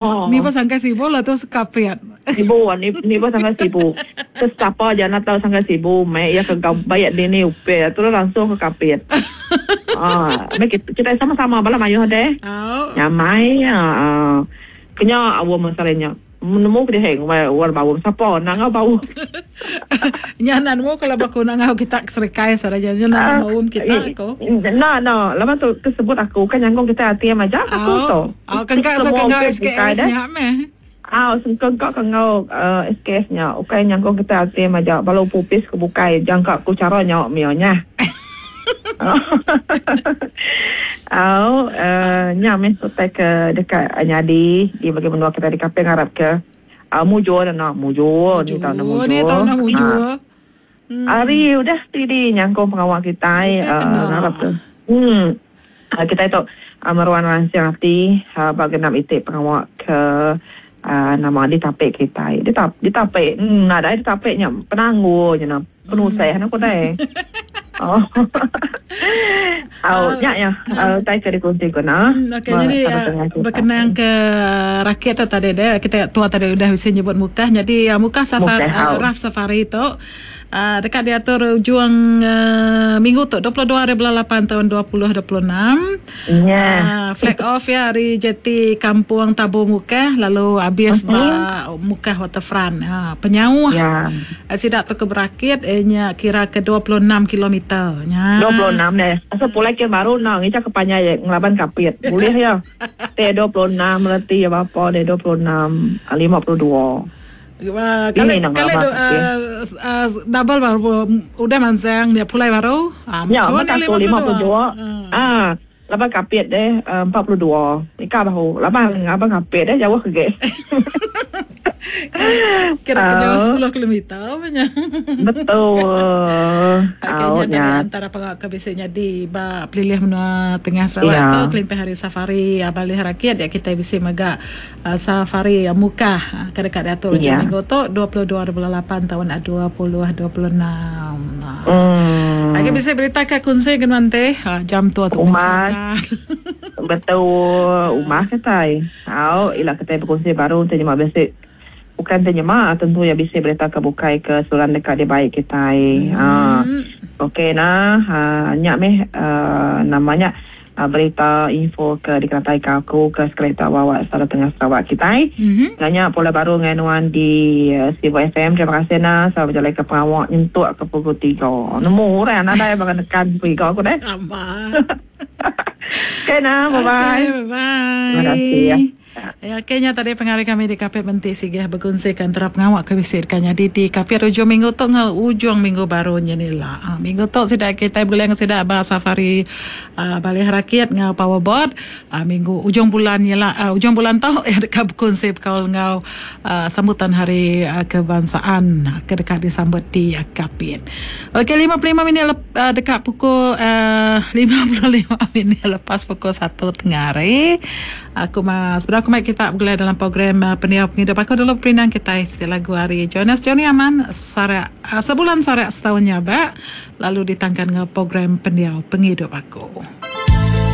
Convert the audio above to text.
Ni ba sangkai Sibu lah tu sekapit. Sibu ni ni ba sangkai Sibu. Ke sapa aja enda tau sangkai Sibu meh iya ke baik dini upih terus langsung ke Kapit. Aaa meh kitai sama-sama bala mayuh deh. Nyamai aaa kenya aum sehari nya. Nemu ke dihe ngumbai orang baum sapa enda enggau baum. Nya enda nemu kalau ba ku enda enggau kita ke serikai saraja nya enda baum kita ko. Enda enda laban tu ke sebut aku kan nyangkung kita ATM aja aku tu. Au kengka so enggau SKS nya meh. Au kengka ke enggau SKS nya ukai nyangkung kita ATM aja bala opis ke bukai jangka ku chara nya mia nya. Au nya meh utai ke deka nyadi di bagi menua kitai di Kapit ngarap ke mujur enda mujur ni tau enda mujur. Hari udah stidi nyangkung pengawa kitai ngarap ke kitai tu meruan ransing ati ba genap iti pengawa ke nama ditapi kitai. Ditapi nadai ditapi nya penanggul nya nah. Penusah ne ku deh. Au nya ya utai ke dikunsi ku nah. Okey jadi bekenang ke rakit tu tadi deh kita tua tadi udah bisi nyebut Mukah jadi Mukah safari Raf Safari tu deka diatur ujung minggu tu 22 hari bulan lapan taun 2026. Flag off iya ari jeti Kampung Tabu Mukah lalu abis ba Mukah Waterfront. Penyauh sida tu ke berakit iya nya kira ke 26 kilometer. Nya. 26 deh. Asal pulai ke baru enda ngicha ke panjai ngelaban Kapit. Bulih iya. Ti 26 reti iya bapa deh 26 52. Kali kali double baru udah mansang dia pulai baru. Nya meh aku 52. Ah laban Kapit deh 42. Ika bahu laban abang Kapit deh jauh agi. Kira ke jauh 10 kilometer meh nya. Betul. Okey nya tadi antara pengawa ke bisi nyadi ba pelilih menua tengah Sarawak tu kelimpah ari safari Balih Rakit dia kitai bisi mega Safari Mukah ke deka diatur ujung minggu tu 22 hari bulan lapan taun 2026. Agi bisi berita ke kunsi ke nuan ti jam tua tu Umas. Betul umas kitai. Au ila kitai bekunsi baru enti nyema bisi bukan enti nyema tentu iya bisi berita ke bukai ke seruran deka dibai kitai. Okey nah nya meh nama nya. Berita info ke dikenataika aku ke sekali tu Awak Sada Tengah Sarawak kitai. Enggau nya pulai baru ngagai nuan di Sibu FM. Terima kasih nah sama bejalaika pengawa nyentuk ke pukul tiga. Nemu orang nadai baka nekan pukul tiga aku deh. Okay nah, bye bye. Okay, bye bye. Terima kasih. Ya okey nya tadi pengari kami di Kapit Menti Sigih bekunsi ke antara pengawa ke bisi deka nyadi di Kapit ujung minggu tu enggau ujung minggu baru nyin ila. Ha, minggu tu sida kitai begulai enggau sida ba safari uh, Balih Rakit enggau Powerboat. Uh, minggu ujung bulan ila uh, ujung bulan tu iya deka bekunsi bekaul enggau uh, sambutan Hari uh, Kebangsaan ke deka disambut di uh, Kapit. Okey 55 minit lep, uh, deka pukul uh, 55 minit lepas pukul 1 tengah hari. Aku ma sebedau aku mai kita begulai dalam program Pendiau Pengidup Aku dulu perindang kitai siti lagu ari Jonas Johnny Aman Sarak Sebulan Sarak Setaun Nyabak lalu ditangkan enggau program Pendiau Pengidup Aku.